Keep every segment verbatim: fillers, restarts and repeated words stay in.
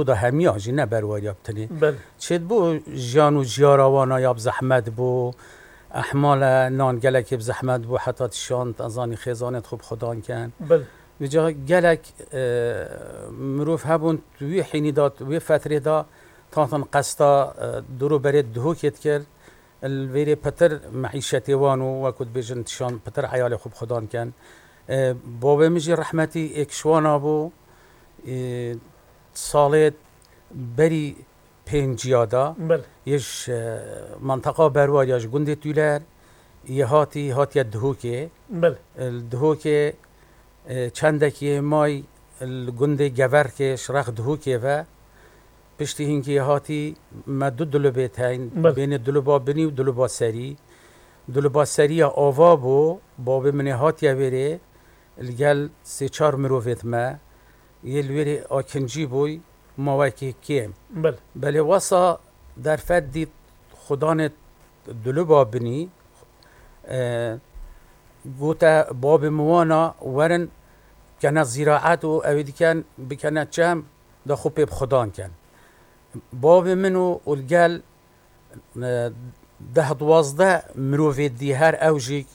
da hemiya jî ne berwariya bi tenê. Belê. Çêdibû jiyan û jiyara wana ya bi zehmet bû. Ehmale nan gelekê bi zehmet bû, heta tişan, te zanî xêzanê xwe bi xudan ken. Belê. Vêca gelek, e, mirov hebûn, wî hînî da, wê fetrê da, tatin qesta, e, dûr û berê Dihokê dikir. Li vêrê pitir meîşetê wan û wekû dibêjin tişan pitir eyalê xwe bi xudan ken. E, bavê min jî rehmetî êk ji wana bû, e, salê berî pênciya da. Belê. Yê ji, e, menteqa Berwariya ji gundê Tûler, yê hatî, hatiye Dihokê. Belê. Li Dihokê, e, çendekî yê may li gundê Geverkê ji rex Dihokê ve. Piştî hingê hatî me du dulubê teyn, Belê. Bênê duluba binî û duluba serî. Duluba serî ya ava bû, bavê min ê hatiye wêrê, li gel sê çar mirovêt me, yê li wêrê akincî bûy, ma wekî kêm. Belê. Belê wesa derfet dît xudanê duluba binî, e, gote babê min wana werin kene zîraet û ew ê diken bikene çem, da xwe pê bi xudan ken. Bavê min û, û li gel, e, deh duwazdeh mirovê dî her ew jî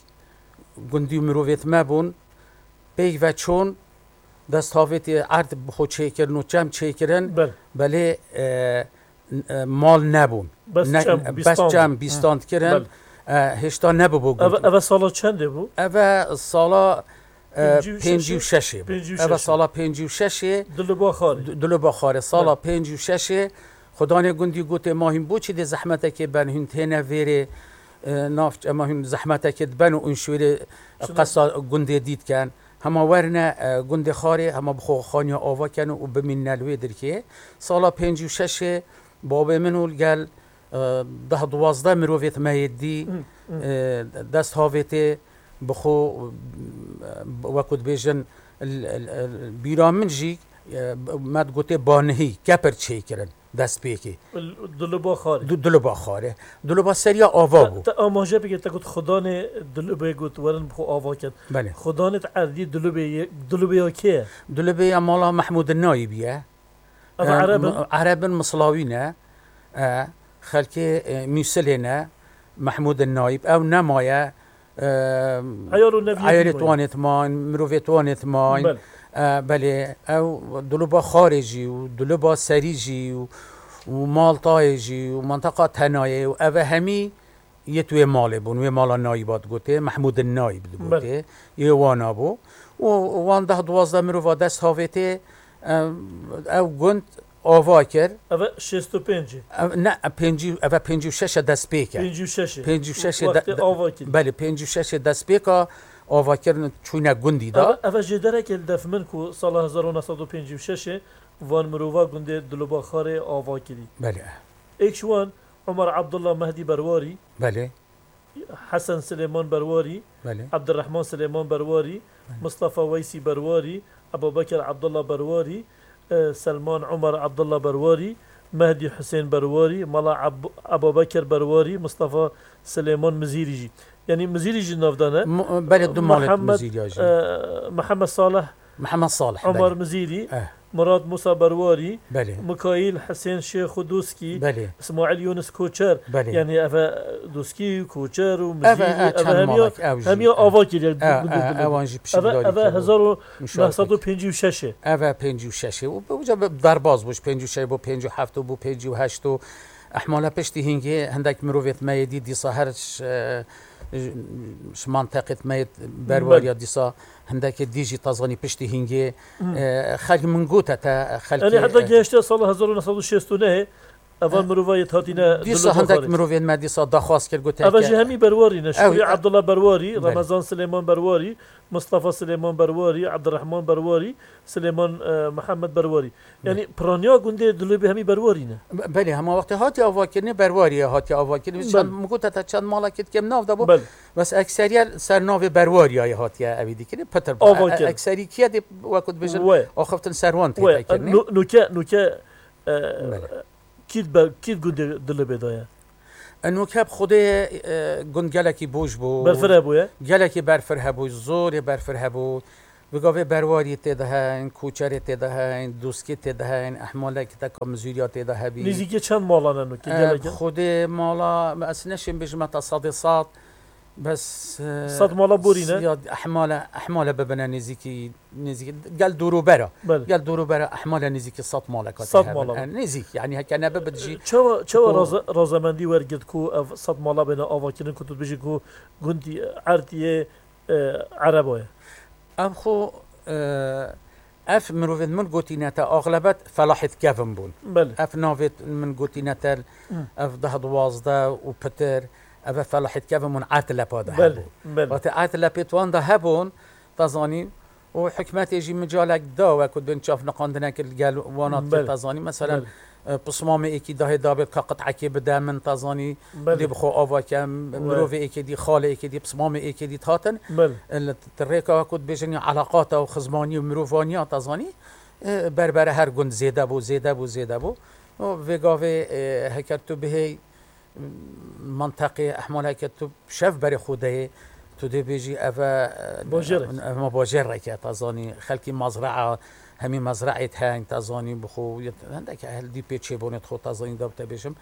gundî û mirovêt me bûn. Pêk ve çûn, dest havêtê erd bi xwe çêkirin û çem çêkirin. Belê. Belê, e, n-, e, mal nebûn. Bes Ne-, çem, bes bîstand. çem, Hı. bîstand kirin. Belê. E, hêşta nebûbû Eve, gund. eve sala çendê bû? Eve sala, e, Pêncî û şeş. pêncî û şeş bû. Pêncî û şeş. Eve sala pêncî û şeş. Duluba Xarê. Du-, Duluba Xarê. Sala Belê. pêncî û şeş. Xudanê gundî gotê ma hîn bo çi dê zehmetekê ben hûn têne vêrê, e, navç-, ema hûn zehmetekê diben û hûn şûrê Şuna- qesa gundê dît ken. Hema werine, e, gundê Xarê, hema bi xwe xaniya ava ken û bimînne li wê dirkê. Sala pêncî û şeş bavê min û li gel, e, deh duwazdeh mirovêt me yê dî, Hı, hı. e, dest havêtê bi xwe, e, wekû dibêjin, l-, l-, l-, bîra min jî, e, me digotê banihî, kepir çêkirin. Destpêkê. L-, Duluba Xarê. Du-, Duluba Xarê. Duluba seriya ava Te, bû. te amaje bike, te got xudanê Dulubê got werin bi xwe ava kin. Belê. Xudanê te erdî Dulubê ye, Dulubê ya kê ye? Dulubê ya mala Mehmûd Nayîb ye. Ev E, Ereb in? m-, Ereb in, Mislawî ne. E, xelkê, e, Mûsilê ne. Mehmûd Nayîb. Ew nemaye. Ehm, Eyal û neviyê eyalê wî wan ê timan, mirovê wan ê timan. Belê. Eh, belê, ew Duluba Xarê jî û Duluba Serî jî û, û Maltayê jî û Menteqa Tenayê û eve hemî yê tu wê malê bûn, wê mala Nayîba digotê, Mehmûdin Nayîb digotê, Belê. yê wana bû. Û wan deh duwazdeh mirova dest havêtê, ehm, ew gund ava kir. Eve şêst û pênc e. Ev, ne, pêncî, eve pêncî û şeş e dest pê kir. Pêncî û şeş e. Pêncî û şeş e de, Wextê de, ava kirî. Belê, pêncî û şeş e dest pê ka ava kirin çûne gundî da. Eve, eve jêderekê li def min ku sala hezar û neh sed û pêncî û şeş e van mirova gundê Diloba Xarê ava kirî. Belê. Êk ji wan Omer Abdullah Mehdî Berwarî. Belê. Hesen Silêman Berwarî, Belê. Ebdirehman Silêman Berwarî, Belê. Mistefa Weysî Berwarî, Ebubekir Abdullah Berwarî, e, Selman Omer Abdullah Berwarî, Mehdî Husên Berwarî, Mala Ab-, Ebubekir Berwarî, Mistefa Silêman Mizîrî jî. Yanî Mizîrî jî nav dane. Mu-, belê du malê Mihemed, Mizîriya jî. e, Mihemed Salih Mihemed Salih, Omer belê. Mizîrî, Eh. Murad Musa Berwarî, Belê. Mikaîl Hisên Şêx û Doskî, Belê. Îsmaîl Yûnis Koçer, Belê. Yanî ev e Doskî, Koçer û Ev e, Mizîrî, e, ev e çend hemiya, malek, ev jî, hemiya e. ava kiriye. E, e, evan jî Ev e, piştgirî ev e kir. hezar û neh sed û pêncî û şeş e. Ev e pêncî û şeş e. Û bi-, uca bi-, derbaz bû, ji pêncî û şeş bû, pêncî û heft bû, pêncî û heşt û Ehmale piştî hingê hindek mirovêt me yê dî dîsa her ş-, e, ji manteqêt me yê berwariya Belê. dîsa hindekê dî jî tazanî piştî hingê, Hmm. e, xelk min gote te, xelkê, Yanî heta e, gehişte sala hezar û neh sed û şêst û nehê, evan E, mirova yê hatîne dîsa Diloba hindek Xarê. mirovên me dîsa daxwaz kir, gote Eva ke jî hemî Berwarî ne. Ew, Şukrî e, Abdullah Berwarî, Belê. Remezan Silêman Berwarî, Mistefa Silêman Berwarî, Ebdirehman Berwarî, Silêman, e, Mihemed Berwarî. Yanî Belê. piraniya gundê Dilobê hemî Berwarî ne. Be-, belê, hema wextê hatiye avakirinê Berwariyê hatiye avakirinê. Belê. Çend, min got heta çend malekê dikem nav de bû. Belê. Bes ekseriye ser navê Berwariyayê hatiye evî dikirin. Pitir bû. Ava E, e, kirin. Ekserî kiye dê wekû dibêjin We. axiftin ser wan We. tê kirinê. Nu-, nuke, nuke, e, Belê. kî be-, kî gundê Dilobê de ye? E, nuke bi xwedê, e, gund gelekî boş bû. Berfir hebûye? Gelekî berfir hebû, zorê berfir hebû. Bi gavê berwarî tê de heyn, koçerê tê de heyn, doskî tê de heyn, ehmalek teka mizûriya tê de hebî. Nêzîkî çend malan e nûkê? Em, gelek e? Xwedê mala, ez neşêm bêjim heta sedê sed, bes, e, Sed mala borî ne? Ya ehmale, ehmale bibine nêzîkî, nêzîkî, gel dorûbera. Belê. Gel dorûbera ehmale nêzîkî sed maleka tê Sed hebin. Mala. E, nêzîk, yanî heke nebe bi jî. Çawa, çawa Xwe raze-, razemendî wergirt ku ev sed mala bêne avakirin ku tu dibêjî ku gundî Ertiyê e, Erebo ye. Ev xwe, e, ev mirovên min gotîne te axlebet felahîtkevin bûn. Belê. Ev navê min gotîne te, Hı. ev deh duwazdeh û pitir, ev e felahîtkevin bûn Ertlepa de Belê, hebûn. belê. Wextê Ertlepê wan de hebûn, te zanî, û hikûmetê jî micalek da we ku bin çavniqandinek li gel wana Belê. te zanî. Meselen, Belê. e, pismamê êkî dahê dabêt ka qit'ekê bide min, te zanî, Belê. dê bi xwe ava ke, m-, We. mirovê êkê dî, xalê êkê dî, pismamê êkê dî hatin. Belê. E, li t-, rêka ku dibêjin ya elaqata û xizmaniya û mirovaniya, te zanî, e, berbere her gund zêde bû, zêde bû, zêde bû. Û vê gavê, e, heker tu bihêy, menteqê ehmaleke tu şev berê xwe deyê, tu dê bêjî ev e, Bajêrek. ev me bajêrek e, te zanî, xelkî mezraa, hemî mezraê heng, te zanî, bi xwe yê, hindek ehl dî pê çêbûnê xwe, te zanî, da te bêjim,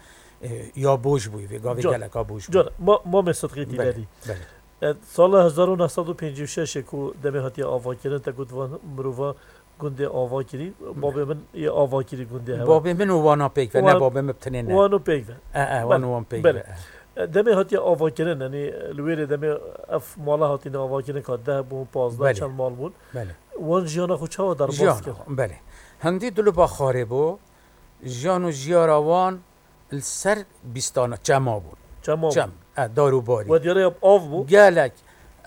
e, ya boj bûyî, vê gavê Can, geleka boj bûyî. can, ma-, Mamê Sidqî Belê, Dîlerî. belê. E, sala hezar û neh sed û pêncî û şeş ê ku demê hatiye avakirin, te got van mirova gundê ava kirî, babê min yê ava kirî gundê hewe. Babê min û wana pêk ve, ne Wan-, babê min bi tinê ne. Wan û pêk ve. E, e, wan Belê, û wan pêk belê. ve, e. E, demê hatiye avakirin, yanî li wêrê demê ev mala hatine avakirin ka deh bûn, pazdeh, Belê. çend mal bûn. Belê. Wan jiyana xwe çawa derbas Jiyana, kir? belê. Hindî duluba xwarê bû, jiyan û jiyara wan li ser bîstana çema bûn. Çema bûn. Çem, e, dar û barî. We diyare ya av bû? Gelek.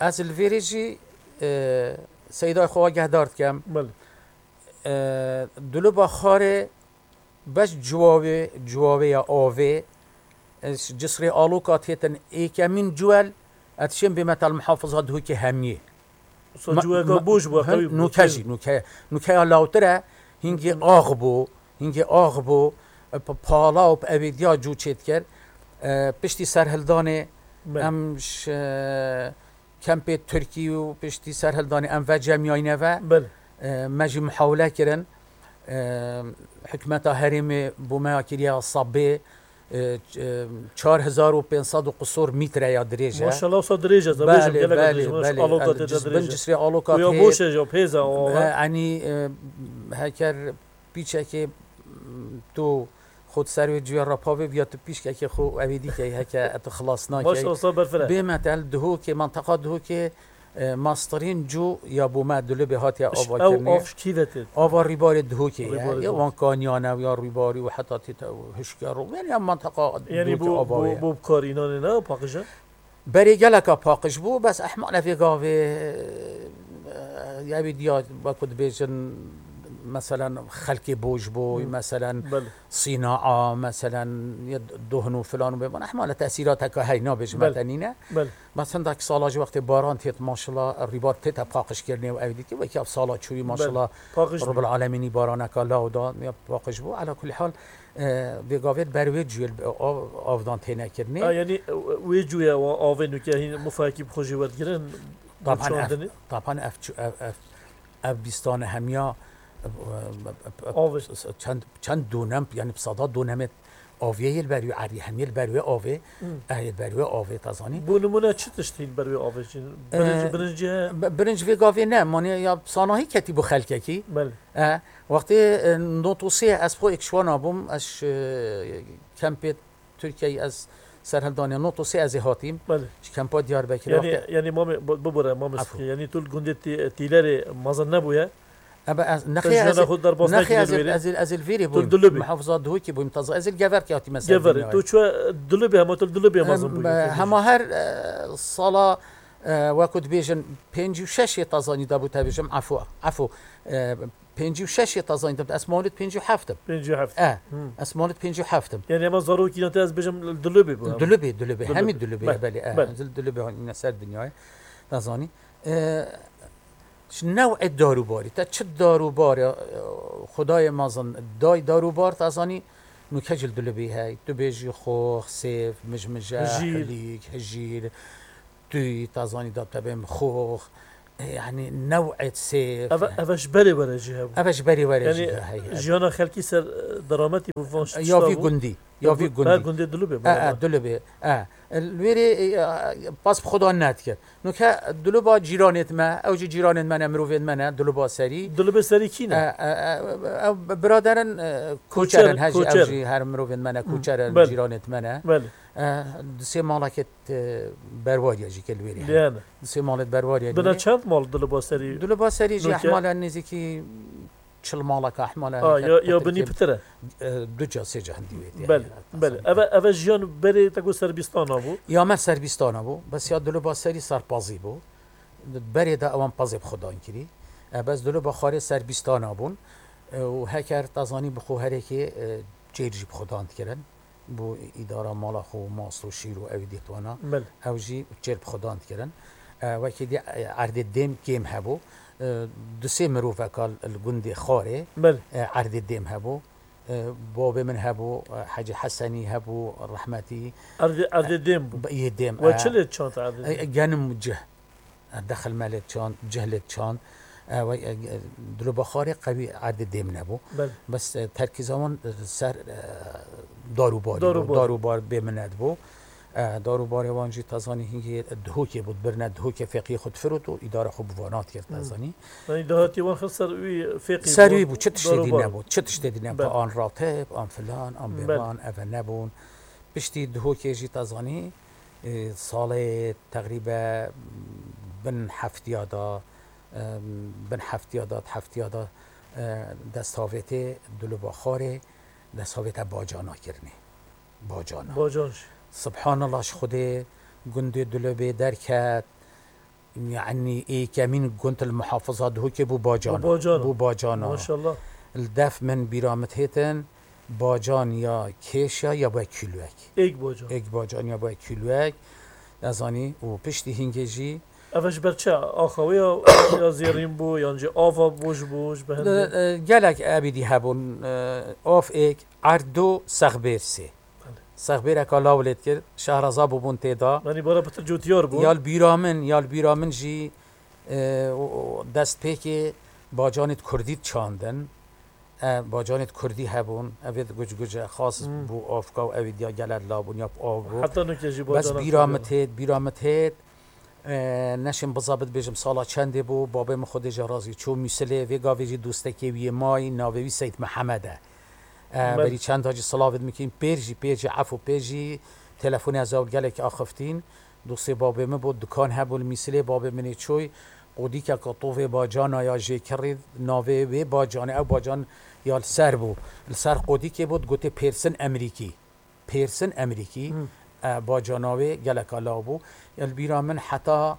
Ez li vêrê jî, e, Seydayê xwe agehdar dikem. Belê. E, duluba xwarê beş ciwavê, ciwavê ya avê, e, cisrê aloka têtin êkemîn ciwel, e, dişên bê metal muhafiza Duhokê hemiyê. Wisa Ma-, ciweka ma-, boş bû, hin-, qewî bû. nûke jî, nûke, nûkeya lawtir e, hingê ax bû, hingê ax bû, e, p-, pala û p-, evêdiya cû çêdikir. E, piştî serhildanê Belê. em ji, e, kempê Tirkî û piştî serhildanê em vecemiyayne ve. Belê. E, me jî muhawile kirin. E, hikûmeta herêmê bo me ya kiriye sabê, e, ç-, e, çar hezar û pênc sed û qisor mître ya dirêj e. Maşallah, wisa dirêj e, te bêjim, Belê, gelek belê, dirêj e. Maş-, belê. aloka Yanî tê de ciz-, dirêj bin e. cisrê aloka Ku ya tê. boş e, ya pêz e, o, E, e. Yanî, e, heker pîçekê, m, tu xwe di ser wê cûya rapavê biya tu pîşkekê xwe evê dîkey heke tu xilas nakey. Maşallah, wisa berfireh e. Bê metel Duhokê, menteqa Duhokê, e, mastirîn cû ya bo me Dulibê hatiye Iş-, ew avakirinê. av ji kî ve tê? Ava rîbarê Duhokê ye. Rîbarê Ya Duhokê. wan kaniyan e, ya rîbarî û heta tê te hişker û, yanî ya menteqa Yanî Duhokê bo, ava bo, ye. bo bi karînanê ne, paqij e? Berê geleka paqij bû, bes ehmale vê gavê, e, ya wî diya, wekû dibêjin, meselen, xelkê boş bû, Hmm. meselen, Belê. sînaa, meselen, ya dohn û filan û bêvan. Ehmale tesîrateka hey, nabêjim Belê. te nîne. Belê. Bes hindek sala ji wextê baran têt, maşallah, rîbar tête paqijkirinê û ev dîtî, wekî ev sala çûyî, Belê. maşallah, Paqij bû. Rabbil Alemînî baraneka law da, ya paqij bû. Ala kulî hal, e, vê gavê ber wê cuyê av, avdan têne kirinê. Ha, yanî, e, wê cuyê wa avê nûke hîn mufayekî bi xwe jî werdigirin, Taban ev, çandinê? taban ev çu-, ev, ev, ev bîstane hemiya, e, e, e, Avê. çend, çend donem, yanî bi sada donemê avê yê li ber wê erî, hemiyê li ber wê avê, Hmm. eh, yê li ber wê avê, te zanî. Bo nimûne çi tişt hîn ber wê avê çin? Birinc, Eh, birincî heye? bi-, birinc vê gavê ne, manê ya sanahî ketî bo xelkekî. Belê. Eh, wextê, eh, notosê ez xwe êkşwana bûm, ez, eh, kempê Tirkiyeyê ez serhildanê notosê ez ê hatîm. Belê. Ji kempa Diyarbekirê Yanî, wextê yanî mamê, bu-, bibûre, mamê Efû. Sidqî. Yanî tu li gundê Tî-, Tîlerê mezin nebûye? Ebe ez, Te nexê ez, jiyana xwe derbas nexê nekirî ez, li wêrê? ez, ez li vêrê Tu bûyim. Dulubî. Muhafiza Duhokê bûyim, taze ez li Geverkê hatîme ser Geverê. dinyayê. Tu çûye Dulubî, hema tu li Dulubî mezin Em, bûyî. hema her, e, sala, e, wekû dibêjin, pêncî û şeş ê tazanî de bû te bêjim, efû, efû. E, pêncî û şeş ê tazanî de, ez mawlid pêncî û heft im. Pêncî û heft. E, Hmm. ez mawlid pêncî û heft im. Yanî hema zarokîna te ez bêjim Dulubî bû, Dulubî, Dulubî, Dulubî. hemî Dulubî, Belê, belê, e, belê. ez li Dulubî hatîme ser dinyayê. Te zanî. E, Ji new'ê darûbarî, te çi darûbar, e, Xwedayê mezin day darûbar, te zanî, nûke jî li Dulubî hey. Tu bêjî xox, sêv, mijmije, Hijîr. hilîk, hijîr, tûy, te zanî, da te bêm xox, yani new'ê sêf. Eve, eve ji berê were jî hebû. Eve ji berê were jî heye. Jiyana xelkî ser, e, derametî bû van tişta. Ya vî gundî, ya vî gundî. Ha, gundê Dilubê. E, e, Dilubê. E, li wêrê, e, pas bi Xudan nedikir. Nuke Diluba cîranêt me, ew jî cîranêt me ne, mirovên me ne, Diluba serî. Dilubê serî kî ne? E, e, e, ew biraderin, e, koçer in, hejî ew jî her mirovên me ne, koçer in, cîranêt me ne. Belê. E, di sê malekêt, e, berwariya jî ke li wêrê hene. Di sê malêt berwariya li wêrê. Bina çend mal Diluba serî? Diluba serî jî ehmala nêzîkî çil maleka ehmala. Ha, ya, ya binî pitir e? E, du ca, sê ca hindî wê. Belê, belê. Eve, eve jiyan berê te got serbîstana bû? Ya me serbîstana bû. Bes ya Diluba serî serpazî bû. Berê de ewan pezê bi Xudan kirî. E, bes Diluba xwarê serbîstana bûn. E, û heker te zanî bi xwe herêkê, e, çêr jî bi Xudan dikirin. Bo îdara mala xwe û mast û şîr û ew dîtwana. Belê. Ew jî çêl bi Xudan dikirin. E, wekî dî, e, erdê dêm kêm hebû. E, du sê miroveka li gundê Xarê, belê, e, erdê dêm hebû. E, babê min hebû, e, Hecî Hesenî hebû, rehmetî. Erdê, erdê dêm bû. Yê dêm, we, e, çi lê çand erdê dêm? E, genim cih. Dexil me lê çand, cih lê çand. E, we, e, Diloba Xarê qewî erdê dêm nebû. Belê. Bes, e, terkîza wan, e, ser, e, dar û barî bû. Dar û bar. Dar û bar bê minet bû. E, dar û barê wan jî te zanî hingê dihokê bû, dibirine dihokê feqiyê xwe difirot û îdara xwe bi vana dikir, te zanî. Yanî dahatî wan xist ser wî feqî bû. Ser wî bû, çi tiştê dî nebû, çi tiştê dî nebû. Belê. An ratib, an filan, an bêvan, eve nebûn. Piştî dihokê jî te zanî, e, salê teqrîbe bin heftiya da, e, bin heftiya da, heftiya da, e, desthavêtê Diloba Xarê, desthavête bacana kirinê. Bacana. Bacan jî. Subhanallah ji Xwedê gundê Dilobê derket, yanî êkemîn gund li muhafiza Dihokê bû bacana. Bû bacana. Bû bacana. Maşallah. Li def min bîra min têtin, bacan ya kêşa ya be kîlwek. Êk bacan. Êk bacan ya be kîlwek. Nezanî û piştî hingê jî. Ev ji ber çi? Axa wê ya, ya zêrîn bû, yan jî ava bû ji bo, ji be hindê? E, e, gelek ebîdî hebûn, e, av êk, erd du, sexbêr sê. Belê. Sexbêreka law lê dikir, şehraza bûbûn tê de. Yanî bara pitir cotiyar bû. Ya li bîra min, ya li bîra min jî, e, o, o destpêkê bacanê di kurdî diçandin. E, bacanê di kurdî hebûn. Evê di guc guc e, xas bû avka û evî diya gelek labûn, ya bi av bû. Heta nuke jî bacana kurdî. Bes bîra min têt, bîra min têt. E, neşim biza bidibêjim sala çendê bû, babê min Xwedê jê razî çû Mûsilê, vê gavê jî dostekê wî yê mayî, navê wî Seyd Mihemed e. E, belê. Berî çenda jî silavê dimikîn, pêr jî, pêr jî, efû pêr jî, telefonê ez ew gelek axiftin. Dostê babê min bû, dukan hebû li Mûsilê, babê min ê çûy, qodîkeka tovê bacana ya jê kirî, navê wê bacanê, ew bacan ya li ser bû. Li ser qodîkê bû, digotê Pêrsin Emerîkî. Pêrsin Emerîkî, e, bacana wê geleka law bû. Ya li bîra min heta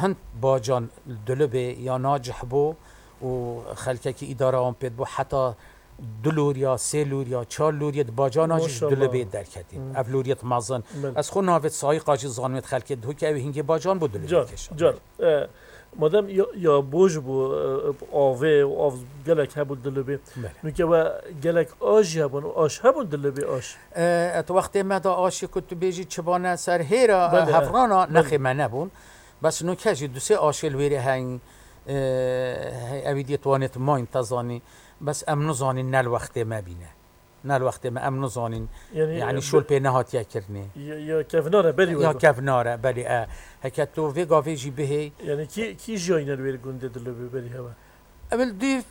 hind bacan li Dilibê ya nacih bû û xelkekî îdara wan pê dibû, heta du lorya, sê lorya, çar lorya di bacana jî ji Dilibê derketîn. Ev loriyet mezin. Belê. Ez xwe navê Sayîqa jî zanimê xelkê Dihokê ew hingê bacan bû Dilibê kêşan. Car, car. E, Madem ya, ya boj bû, e, avê û av gelek hebû Dilibê. Belê. Nuke we gelek aş jî hebûn û aş hebûn Dilibê aş. E, et wextê me de aşê ku tu bêjî çibane ser hêra, belê, hevrana, belê, nexê me nebûn. Bes nuke jî du sê aşê li wêrê heyn, e, hey, evî diyê tuwanê tu mayîn te zanî. Bes em nizanîn ne li wextê me bîne. Ne li wextê me em nizanîn. Yanî, yanî e, şol pê nehatiye kirinê. Ya, ya kevnar e, belî. Ya were kevnar e, belî e. Heke tu vê gavê jî bihê. Yanî kî, kî jiyayîne li wê gundê Dilibê berî hewe? Ev li dûv,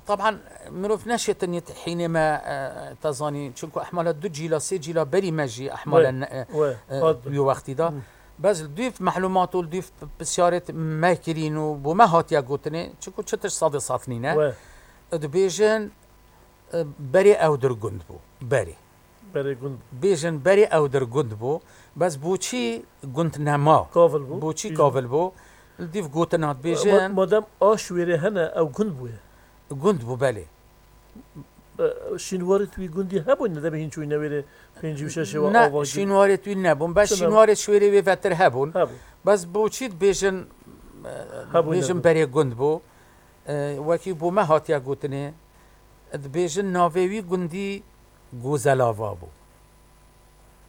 taban mirov neşêtin yê hînê me, e, te zanî. Çunku ehmala du cîla, sê cîla berî me jî ehmala ne, e, e, wî wextî da. Bes li dûv mehlûmat û li dûv pisyarêt me kirîn û bo me hatiye gotinê. Çunku çi tişt sedê sed nîne. Dibêjin, E, berê ew dir gund bû. Berê. Berê gund bû. Bêjin berê ew dir gund bû. Bes boçî gund nema? Kavil bû. Boçî kavil bû? Li dîv gotina dibêjin. Ma-, madem aş wêrê hene, ew gund bûye. Gund bû, belê. E, şînwarê tu wî gundî hebûn, ne debê hîn çûyne wêrê pêncî û şeş ê we ava. Ne, şînwarê tu wî nebûn. Bes şînwarê şwêrê wê vetir hebûn. Hebûn. Bes boçî dibêjin, e, hebûn, dibêjin nebûn. Berê gund bû. E, wekî bo me hatiye gotinê, dibêjin navê wî gundî Gozelava bû.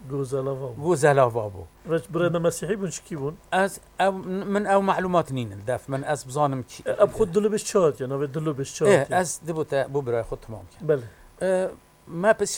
Gozelava bû. Gozelava bû. Ve birayê me Mesîhî bûn, çikî bûn? Ez ew, min ew malumat nînin def min, ez bizanim çi. E, ev xwe Dilubêj çi hatiye, navê Dilubêj çi Eh, hatiye? Ez dibû te bu birayê xwe tamam kir. Belê. Eh, Me pirs